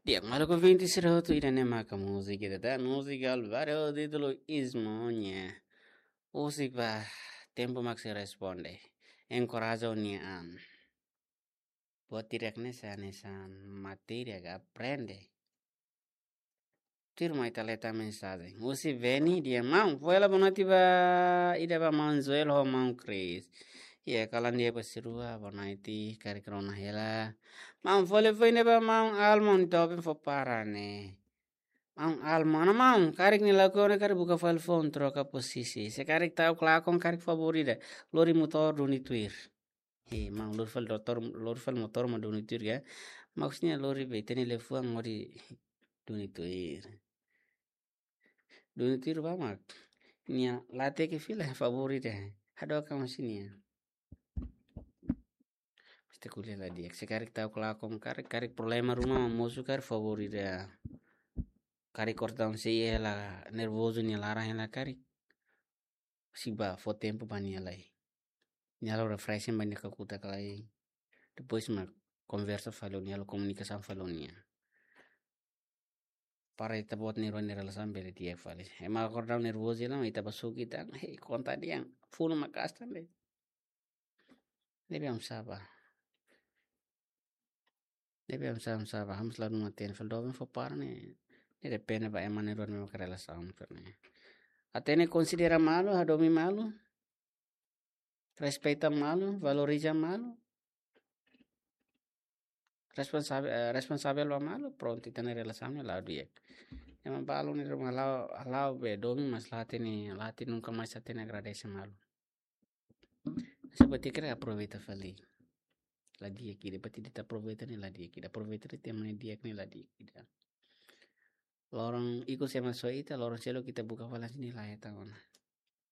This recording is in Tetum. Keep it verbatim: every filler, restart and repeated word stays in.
Di'ak, maluk ouvinte sira hotu, ida-ne'e maka múzika ida tan, múzika Alvaro, títulu Ismonya. Husik ba tempu mak sei responde. Enkoraja ó-nia an. Buat hirak ne'e sai hanesan matéria ka aprende. Tuirmai ita lee tan mensajen husi Veni dehan: Maun, fó hela bonoite ba, ida ba maun Joel ho maun Chris. Iha kalan di'ak ba sira rua, bonoite karik rona hela. Maun, fó hela foin ida ba maun Almon, doben fó para ne'e. Maun Almon, ona maun, karik nia lakohi ona karik buka fali foun, troka pozisi. Se karik ta'uk lakon, karik favór ida, lori motór duni tuir. He, maun, lori fali motór, lori fali motór mak duni tuir ka? Maksudnya lori be, ita-nia liafuan lori duni tuir. Duni tuir ba mak nia la hateke fila, favór ida. Hadook ka maun sira-nia? Mesti ko'alia la di'ak. Se karik ta'uk lakon, karik, karik problema ruma mak mosu, karik favór ida. Karik kortaun sei hela, nervozu nia laran hela karik. Sei ba fó tempu ba nia lai. Nia halo refreshing ba nia kakutak lai. Depois mak konversa fali ho nia, halo komunikasaun fali ho nia. Para ita-boot na'in-rua nia relasaun bele di'ak fali. Ema kortaun nervozu hela, ita ba suk ita, hei, konta dehan, funu maka'as tan de'it. Ne'ebé oinsá ba? Ne'ebé oinsá, oinsá ba? Ha'u mós la hatene fali, doben fó para ne'e. Ne'e depende ba ema na'in-rua nia relasaun fali ne'e. Hatene, konsidera malu, hadomi malu, respeita malu, valoriza malu, responsavel, eh, responsavel ba malu, prontu, ita-nia relasaun ne'e la'o di'ak. Ema balu ne'e ruma halo, halo be domin, mas la hatene, la hatene, nunka mais hatene agradese malu. Sebab ita karik aproveita fali. La di'ak ida, berarti ita aproveita ne'e la di'ak ida. Aproveita de'it ema nia di'ak ne'e la di'ak ida. Loron ikus ema soe ita, loron seluk ita buka fali hanesan ne'e la hetan ona.